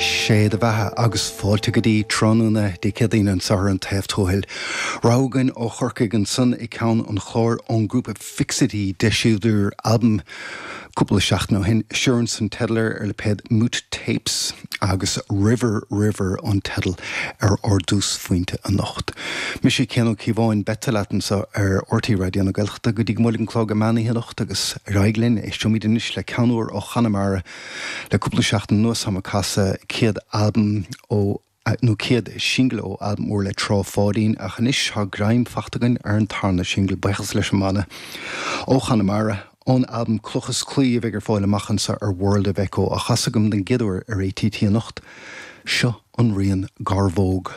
Sé do bheatha agus fáilte go dtí tráthnóna Dé Céadaoin anseo ar An Taobh Tuathail. Rogha againn ó Chorcaigh ansan ag ceann an chláir ón ngrúpa Fixity, d'eisíodar albam cúpla seachtain ó shin, Assurance an teideal air ar lipéad Moot Tapes agus River River an teideal ar ár dtúsphointe anocht. Mise Cian Ó Cíobháin, beidh tú leat anseo ar RTÉ Raidió na Gaeltachta go dtí go mbuailfidh an clog an meán oíche anocht agus ar aghaidh linn, éisteoimid anois le ceann úr ó Chonamara le cúpla seachtain anuas táim ag casadh céad albam ó nó céad singil ó albam úr le Trá Pháidín ach anois tá greim fachta againn ar an tarna singil, buíochas leis an mbanna ó Chonamara, ón albam Cloch is Claí a bheidh ar fáil amach anseo ar World of Echo, á chasadh agam den gcéad uair ar ATT anocht. Seo an rian Garmhóg.